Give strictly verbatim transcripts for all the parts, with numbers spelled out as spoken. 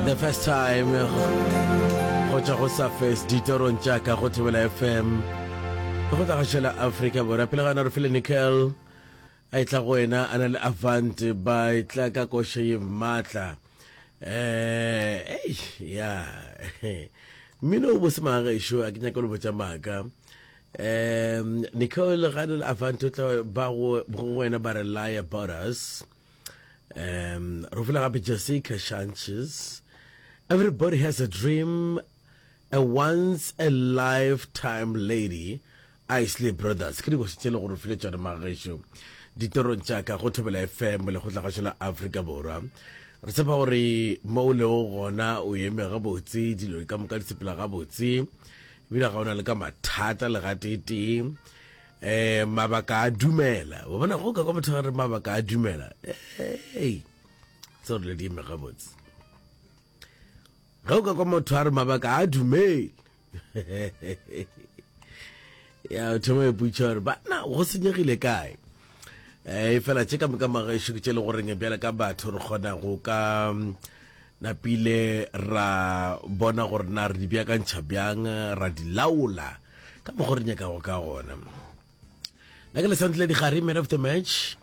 The first time go tšwa go Surface ditorong tša ka go Thobela F M go tla gašela Afrika Borwa. Pele ga na re file Nickel a etla go wena a na le Avant, ba etla ka koša ye maatla. um ei ya mmino o bose magagešo, a ke nyaka le botša maaka. um Nicole ga le Avant o tla ba go wena ba re "Lie About Us". um re fela gape Jessica Sanchez, "Everybody Has a Dream", a "Once a Lifetime Lady", Isley Brothers. Ke dikoši tše le gore file tšone magagešo ditorong tša ka go Thobela F M le go tlagašo la Afrika Borwa. Re tshepa gore mo o lego gona o eme gabotse, dilo ka moka di sepela gabotse, ebile ga o na le ka mathata le gatetee. um mabaka a dumela, wa bona go ka kwa motho re mabaka a dumela, ei tse gore le di eme gabotse. Ge o ka kwa motho a re mabaka a dumele, ya o thoma ipotša gore bana go senyegile kae. um fela tše ka moka magešo ke tše le goreng bjale ka batho re kgona go ka napile ra bona gore na re di beakantšha bjang, ra di laola ka mokgwa re nyakago ka gona. Nna ke Lesantle Digare, man of the match.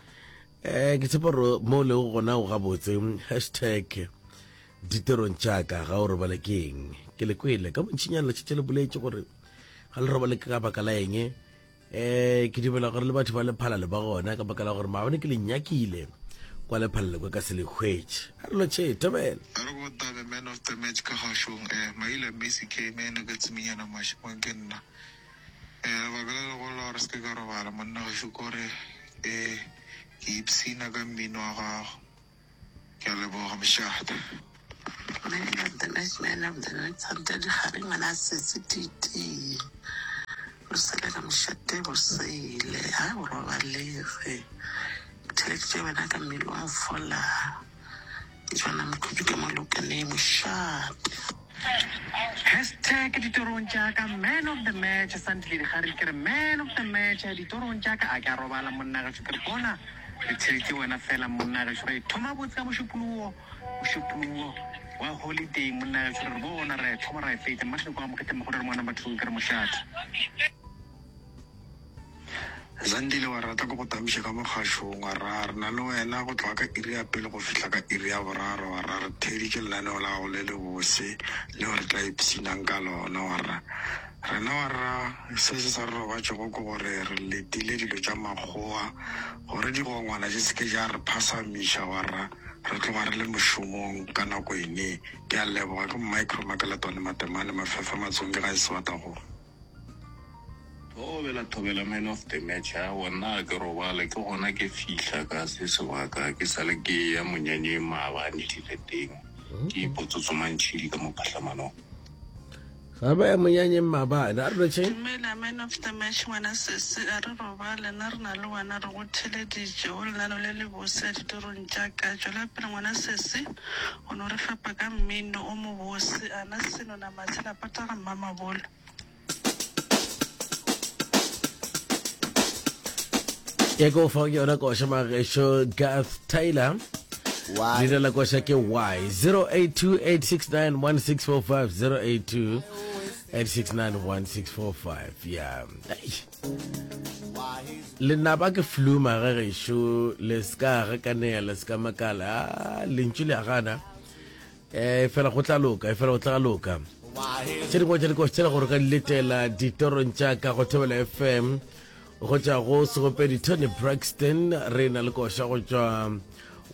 um ke tshepa gore mo o lego gona o gabotse. Hashtag ditorong tšaka ga o robale ke eng? Ke le kwele ka bontšinyana letšatši le boletše gore ga le robale ka baka la eng. um ke dumela gore le batho ba Lephalale ba gona, ka baka la gore maabane ke le nyakile kwa Lephalale kwa ka se le hwetše. A re lotšhe, thobela. A re go tabe, man of the match ka gašong, um Maila Messi K man ka tsiminyana mašemong ke nna. um lebaka le legolo la gore se ke ka robala monna gešo kore um ke ipshina ka mmino wa gago. Ke a leboga, mošate. Man of the match, man of the match, Santa Digare, ngwana a setse titee. O sele ka mošate bosele, ha o robalege. Theleditše wena ka mmele wa fola. Ke tšwana mokhudu ka molokane mošate. Hashtag ditorong tša ka, man of the match Santile Digare. Ke re man of the match ditorong tša ka, a ke a robala monna gešo. Ke re bona re theleditše wena fela monna gešo, re thoma botse ka mošupologo, mošupologo wa holiday monna gešo. Re bona re thoma ra e fetša mmatlhe kwa mokete mogolo re ngwana batho, ke re mošate. Zandile wa rata ke go tamiša ka mogašong wa ra re na le wena go tloga ka iri ya pele go fihla ka iri ya boraro. Wa ra re theeditše lenaneo la gago le le bose leo re tla ipshinang ka lona. Wa ra rena wa ra se se sa re robatšego ke gore re letile dilo tša makgowa gore digongwana di se ke ja re phasamiša. Wa ra re tloga re le mošomong ka nako ene. Ke a leboga, ke Micro Makeletwane Matemane Mafefa Matsonge ga e sebatago. Thobela, thobela, man of the match. Aowa, nna ga ke robale, ke gona ke fihla ka se sebaka, ke sale ke ya monyanyeng maabane dileteng, ke ipotsotso mantšhidi ka mo phahlamanong. Ga ba ya monyanyeng maabane. A re lotšhe. Dumela, man of the match, ngwana sese, a re robale nna re na le wena, re go theleditše o lenano le le bose ditorong tša ka. Tšwela pele ngwana sese, o no re fepa ka mmino o mobose. Ana seno na matshela pata ga mmamabolo. Ya ke o fa ke yona koša magešo, Garth Taylor, leina la koša ke Y. zero eight two, eight six nine, one six four five, zero eight two, eight six nine, one six four five. Ya lenaba ke flu magagešo, le ska gakanea, le ska makala. Ah, lentšu le a gana, um fela go tla loka, e fela go tla loka. Tše dingwe tša dikoši tšela gore ka di letela ditorong tša ka go Thobela F M, go tšwa go segopedi Toni Braxton re na le koša go tšwa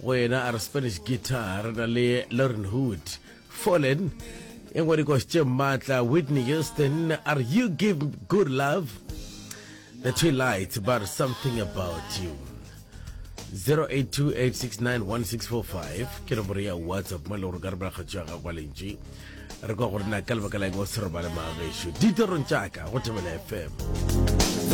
go yena a re "Spanish Guitar". Re na le Lauren Hood, "Fallen". E nngwe dikoši tše maatla, Whitney Houston a re "You Give Good Love", The Twin Lights but "Something About You". zero eight two, eight six nine, one six four five ke nomoro ya WhatsApp mo e le gore ka re bela kgatšo ya gago lentši, re kwa gore na ka lebaka la eng o se robale magešo ditorong tšaka go Thobela F M.